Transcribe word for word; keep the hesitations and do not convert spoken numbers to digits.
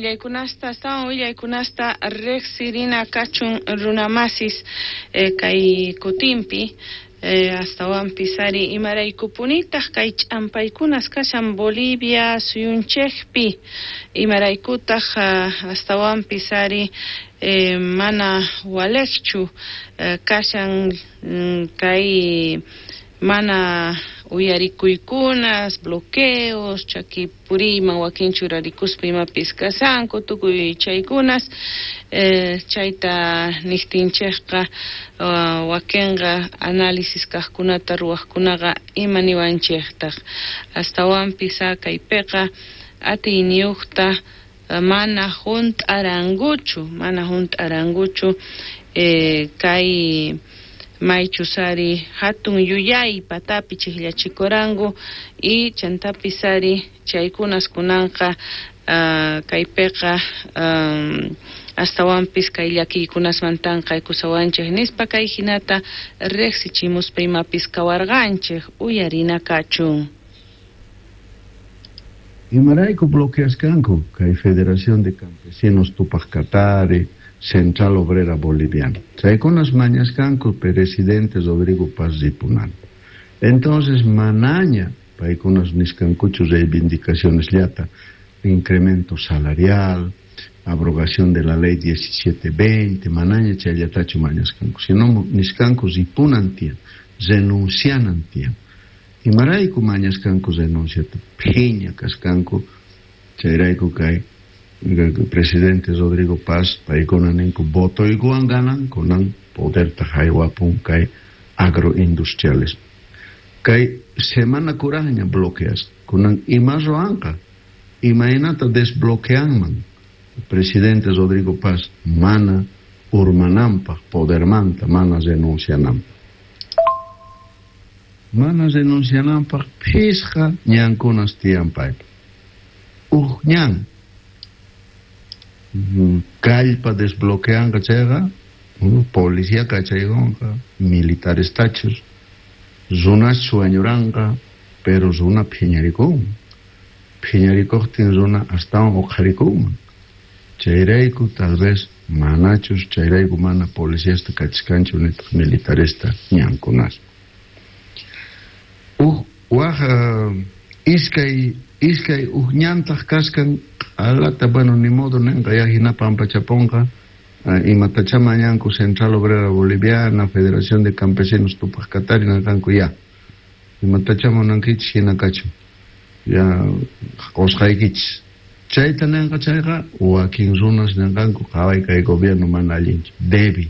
Willaykunasta, astawan willaykunasta riqsirina kachun runamasis eh, kay kutinpi eh, astawanpis ari imaraykupunitaq kay ch'ampaykunas kashan Bolivia suyunchikpi, imaraykutaq uh, astawanpis ari eh, mana walejchu eh, kashan mm, kay mana uyarikuykunas, bloqueos, chaki puriyman wakin churarikuspa imapis kashanku, tukuy chaykunas eh, chayta niqtinchikqa uh, wakinqa análisis kaqkunata ruwaqkunaqa ima niwanchiktaq astawanpis kaypiqa atiyniyuqta mana hunt'arankuchu, mana hunt'arankuchu eh, kay maychus ari hatun yuyay patapi chikllachikuranku y chantapis ari chaykunas kunanqa uh, kaypiqa um, astawanpis kay llakiykunasmantanqa aykusawanchik nispa kay hinata riqsichimuspa imapis kawarqanchik uyarina kachun. Imarayku bloqueaskanku kay Federación de Campesinos Tupac Katari, Central Obrera Boliviana. Chaykunas mañaskanku presidente Rodrigo Paz ripunanta. Entonces manaña paykunas niskankuchu reivindicaciones llata, incremento salarial, abrogación de la ley diecisiete veinte, manaña chayllatachu mañaskanku, sino niskanku ripunan tiyan, renuncianan tiyan. Imarayku mañaskanku renunciata, phiña kaskanku, chayrayku kay presidente Rodrigo Paz paykuna ninku votoykuwan ganan kunan poderta haywapun kay agroindustriales. Kay semana kurajña bloqueas, kunan ima ruwanqa, imaynata desbloqueanman presidente Rodrigo Paz mana urmananpaj podermanta, mana renunciananpaj. Mana renunciananpaj phisqa ñankunas tiyan paypa. Uj ñan kallpa desbloqueanqa chayqa, policía kachaykunqa, militares tachus, runas sueñuranqa, pero runa phiñarikun. Phiñarikuqtin runa astawan uqharikunman. Chayrayku tal vez manachus, chayrayku mana policiasta kachkanchu nitaq militaresta ñankunas. Uj waj iskay iskay uj ñantaq kaskan alata, bueno, ni modo nenqa ya hina pampachaponqa, imatacha mañanku Central Obrera Boliviana, Federación de Campesinos Tupac Katari nanqanku ya. Imatacha munankichis hina kachun. Ya qusqaykichis. Chayta nenqa chayqa wakin runas nenqanku qhaway kay gobierno mana allinchu, débil.